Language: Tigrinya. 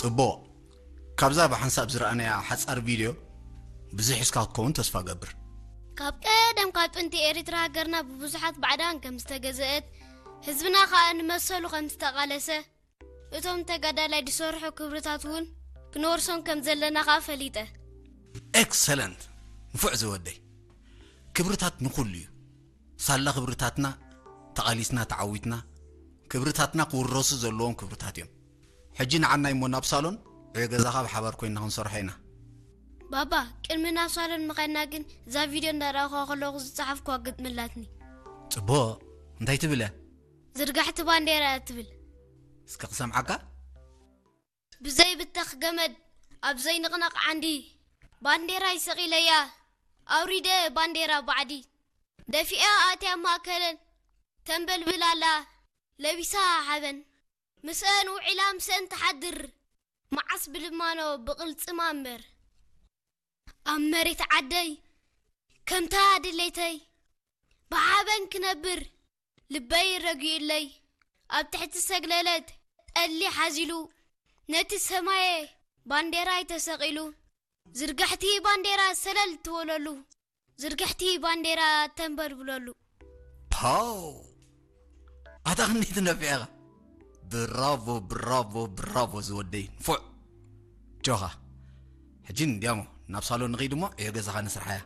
ጽቡቕ። ካብዛ ብሓንሳብ ዝረኣናያ ሓጻር ቪድዮ ብዙሕ ሒዝካ ክትከውን ተስፋ ገብር። ካብ ቀደም ካብ ጥንቲ ኤርትራ ሃገርና ብብዙሓት ባዕዳን ከም ዝተገዘአት፣ ህዝብና ከኣ ንመሰሉ ከም ዝተቓለሰ፣ እቶም ተጋዳላይ ዝሰርሑ ክብርታት እውን ክንወርሶም ከም ዘለና ከኣ ፈሊጠ። ኤክሰለንት። ንፉዕ ዝወደይ። ክብርታት ንኹሉ እዩ። ሳላ ክብርታትና ተቓሊስና ተዓዊትና፣ ክብርታትና ክውረሱ ዘለዎም ክብርታት እዮም። ሕጂ ንዓና እሞ ናብ ሳሎን ዕዮ ገዛኻ ብሓባር ኮይና ክንሰርሖ ኢና። ባባ፣ ቅድሚ ናብ ሳሎን ምኸድና ግን እዛ ቪድዮ እንዳረኣኹዋ ከለኹ ዝጸሓፍኩዋ ግጥሚ ኣላትኒ። ጽቡቕ። እንታይ ትብል እያ? ዝርጋሕቲ ባንዴራ እያ ትብል። እስከ ክሰምዓካ። ብዘይብተኽ ገመድ ኣብ ዘይንቕነቕ ዓንዲ ባንዴራይ ሰቒለያ፣ ኣውሪደ ባንዴራ ባዕዲ። ደፊኣ ኣትያ ማእከለን ተንበልብል ኣላ ለቢሳ ሓበን። ምስአን ውዒላ ምስአን ትሓድር መዓስ ብልማኖ ብቕልጽማ እምበር። ኣብ መሬት ዓደይ ከምታ ድሌተይ ብሓበን ክነብር ልበይ ረጊኡለይ። ኣብ ትሕቲ ሰግለለት ጠሊ ሓዚሉ ነቲ ሰማየ ባንዴራይ ተሰቒሉ። ዝርጋሕቲ ባንዴራ ሰለል ትበለሉ፣ ዝርጋሕቲ ባንዴራ ተንበልብለሉ። ፓው! ኣታ ክንደይ ትነፍዕ ኢኻ። ብራቮ፣ ብራቮ፣ ብራቮ ዝወደይ፣ ንፉዕ። ጆኻ። ሕጂ እንዲያሞ ናብ ሳሎን ንኸይድ እሞ ዕዮ ገዛኻ ንስርሓያ።